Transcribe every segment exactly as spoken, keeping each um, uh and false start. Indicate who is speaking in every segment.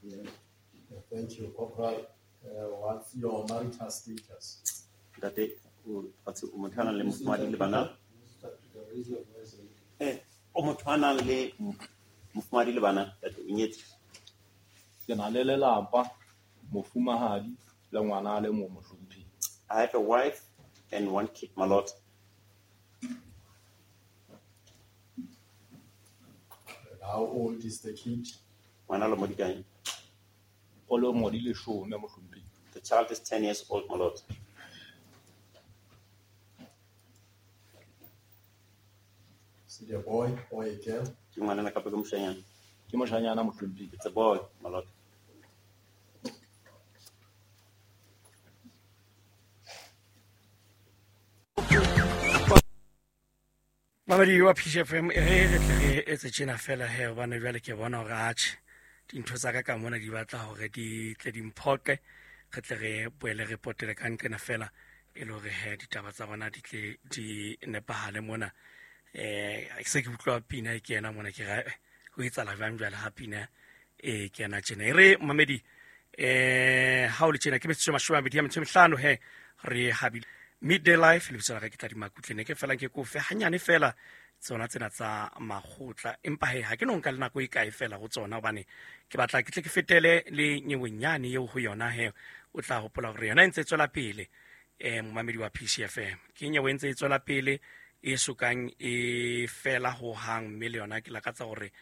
Speaker 1: Yeah. Yeah, thank you, Corporal. Uh, what's your marital status?
Speaker 2: Ntate, o fatshe o motho a nang le mofumahadi le bana?
Speaker 3: Raise your voice a little.
Speaker 2: Eh, o motho a nang le mofumahadi le bana, ntate, o nyetse?
Speaker 4: Ke na le lelapa, mofumahadi le ngwana a le mong mohlomphehi.
Speaker 2: I have a wife and one kid, my lord.
Speaker 1: And how old is the kid?
Speaker 2: Ngwana lemo di kae?
Speaker 4: O lemo di leshome mohlomphehi.
Speaker 2: The child is ten years old, my lord.
Speaker 1: Is it a boy or a girl?
Speaker 2: Ke ngwanana kapa ke moshanyana?
Speaker 4: Ke moshanyana mohlomphehi.
Speaker 2: It's a boy, my lord.
Speaker 5: Mamedi wa P C F M, e re re tle re etse tjena fela he, hobane jwale ke bona hore atjhe dintho tsa ka ka mona di batla hore di tle di mphoqe, re tle re boele re potele ka nqena fela e le hore he ditaba tsa rona di tle di nepahale mona. Eh, se ke utlwa pina e kena mona, ke ra ho etsahala jwang jwale ha pina e kena tjena. E re mamedi, eh, ha o le tjena ke metsotso e mashome a mabedi a metso e mehlano he re habile Midday Life, lebitso la ka ke Tladi Makutle, ne ke fela ke kofe hanyane fela tsona tsena tsa makgotla, empa he ha ke no nka le nako e kae fela ho tsona, hobane ke batla ke tle ke fetele le nyewenyane eo ho yona he o tla hopola hore yona e ntse e tswela pele, eh, momamedi wa P C F M. Ke nyewe e ntse e tswela pele e sokang e fela ho hang, mme le yona ke lakatsa hore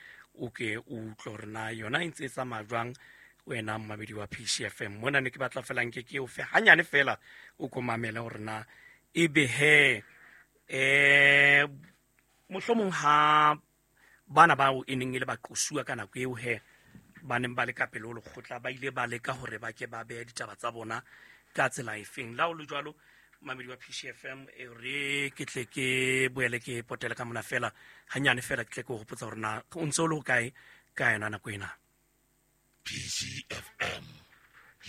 Speaker 5: o ke o utlwe hore na yona e ntse e tsamaya jwang wena momamedi wa P C F M. Mona ne ke batla fela nke ke o fe hanyane fela o ko mamele hore na ebe he, eh, mohlomong ha bana bao e neng e le baqosuwa ka nako eo he ba neng ba le ka pele ho lekgotla ba ile ba leka hore ba ke ba behe ditaba tsa bona ka tsela efeng. La ho le jwalo, momamedi wa P C F M, e re ke tle ke boele ke potele ka mona fela hanyane fela, ke tle ke o hopotsa hore na o ntse o le hokae ka yona nako ena.
Speaker 6: P C F M,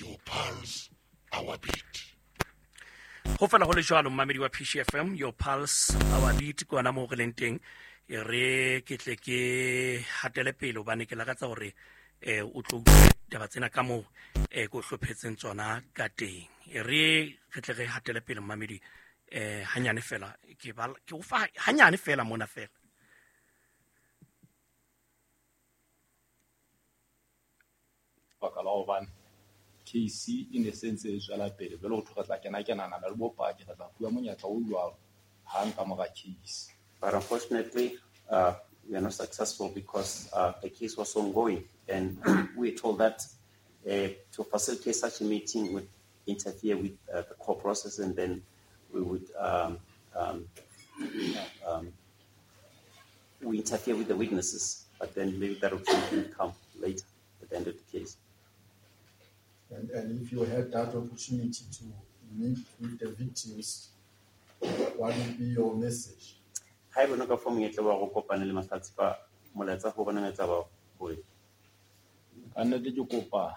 Speaker 6: your pulse, our beat.
Speaker 5: Ho fela ho le jwalo, momamedi wa P C F M, your pulse, our beat, ke hona moo re leng teng. E re ke tle ke hatele pele hobane ke lakatsa hore, eh, o tlo utlwe taba tsena ka moo, eh, ke o hlophetseng tsona ka teng. E re re tle re hatele pele momamedi, eh, hanyane fela, ke ba, ke o fa hanyane fela mona fela.
Speaker 4: Baka la hobane case e ne se ntse e tswela pele, jwale ho thwe re tla kena kenana le bopaki, re tla fuwa monyetla o jwalo hang ka mora case.
Speaker 2: But unfortunately, uh, we are not successful because, uh, the case was ongoing, and we were told that, uh, to facilitate such a meeting would interfere with, uh, the court process, and then we would, um, um, um, we interfere with the witnesses, but then maybe that opportunity would come later at the end of the case.
Speaker 1: And, and if you had that opportunity to meet with the victims, what would be your message?
Speaker 2: Haeba o ne o ka fuwa monyetla wa ho kopana le mahlatsipa, molaetsa ho bona etsa ba hore
Speaker 4: Ka nnete ke kopa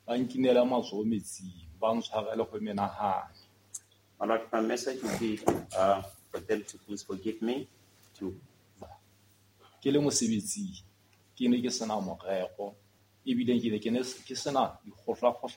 Speaker 4: ba nkinele matsoho metsing, ba ntshwarele ho menahane.
Speaker 2: My Lord, my message would be, uh, for them to please forgive me. To
Speaker 4: Ke le mosebetsing, ke ne ke sena morero, ebile ke ne ke ne ke sena dikgohlakgohla